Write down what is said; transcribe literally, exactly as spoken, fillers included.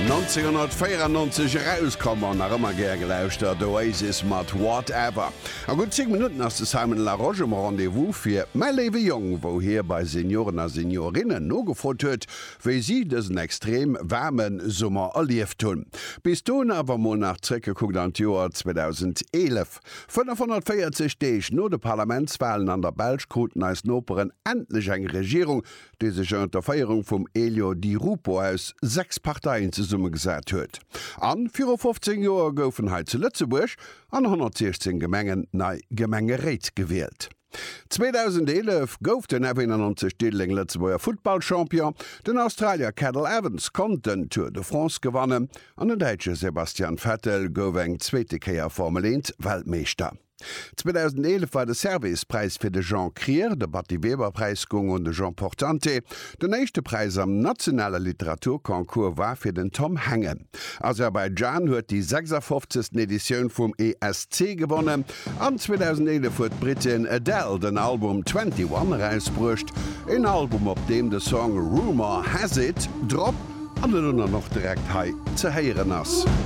nonzénghonnertvéierannonzeg erauskomm an nach ëmmer gär gelauschtert, Oasis mat Whatever. A gutt zéng Minutten ass de Simon Larosche um Rendez-vous fir Mäi léiwe Jong, wou hie bei Senioren a Seniorinnen nogefrot huet, wéi si dësen extrem waarme Summer erlieft hunn. Bis dohin awer mol nach zréckgekuckt an d'Joer zweedausendeelef. fënnefhonnertvéierzeg Deeg no de Parlamentswalen an der Belsch kruten eis Noperen endlech eng Regierung, déi sech ënner der Féierung vum Elio Di Rupo aus sechs Parteien zesummegesat huet. An viru fofzéng Joer goufen hei zu Lëtzebuerg an honnertsiechzéng Gemengen nei Gemengeréit gewielt. zweedausendeelef gouf den F eenannonzeg Diddeleng Lëtzebuerger Futtballchampion, den Australier Cadel Evans konnt den Tour de France gewannen an den Däitsche Sebastian Vettel gouf eng zweete Kéier Formel eent Weltmeeschter. zweedausendeelef war de Servais-Präis fir de Jean Krier, de Batty-Weber-Präis goung un de Jean Portante, den éischte Präis am nationale Literaturconcours war fir den Tom Hengen, Aserbaidschan huet déi sechsafofzegsten Editioun vum E S C gewonnen an zweedausendeelef huet d'Brittin Adele den Album Twenty One erausbruecht, een Album op deem de Song Rumour Has It drop an elo dann och direkt hei ze héieren ass.